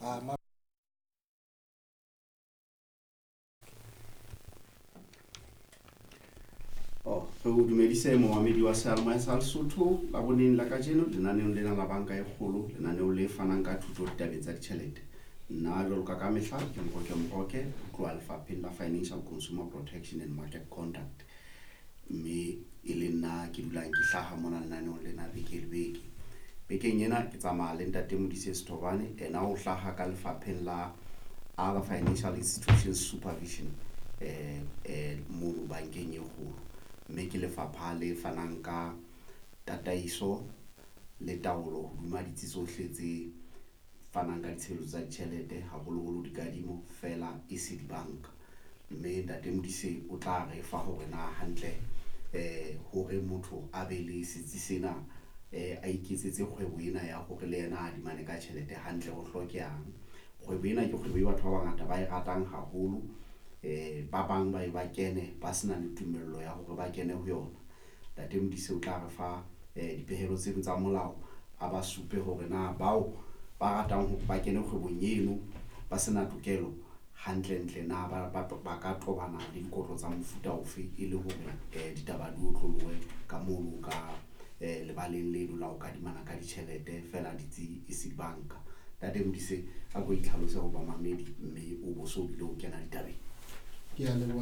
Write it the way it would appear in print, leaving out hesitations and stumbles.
Oh, re o dumedise momamedi wa seyalemoya sa Lesotho Laboneng la kajeno lenaneong lena la Banka e Kgolo, lenaneo le fanang ka thuto ditabeng tsa ditjhelete. Nna jwalo ka ka mehla ke Moroke Moroke ho tloha lefapheng la Financial Consumer Protection and Market Conduct, mme e le nna ke dulang ke hlaha mona lenaneong lena beke le beke. Bekeng ena ke tsamaya le ntate Modise Sethobane, ena o hlaha ka lefapheng la Other Financial Institutions Supervision mono bankeng e kgolo, mme ke lefapha le fanang ka tataiso le taolo hodima ditsi tsohle tse fanang ka ditshebeletso tsa ditjhelete, haholoholo dikadimo fela e se dibanka. Mme ntate Modise o tla re fa hore na hantle hore motho a be le setsi sena, a iketsetse kgwebo ena ya hore le yena a adimane ka tjhelete hantle ho hlokehang. Kgwebo ena ke kgwebo e batho ba bangata ba e ratang haholo, ba bang ba e ba kene ba sena le tumello ya hore ba kene ho yona. Ntate Modise o tla re fa dipehelo tseno tsa molao, a ba supe hore na bao ba ratang hore ba kene kgwebong eno ba sena tokelo hantlentle na ba ka tobana le dikotlo tsa mofuta ofe, e le hore ditaba di otlolohe ka mono ka lebaleng leno la ho kadimana ka ditjhelete fela ditsi e se dibanka. Ntate Modise, a ko itlhalose ho bamamedi mme o bo so bile o kena ditabeng. Ke a leboha.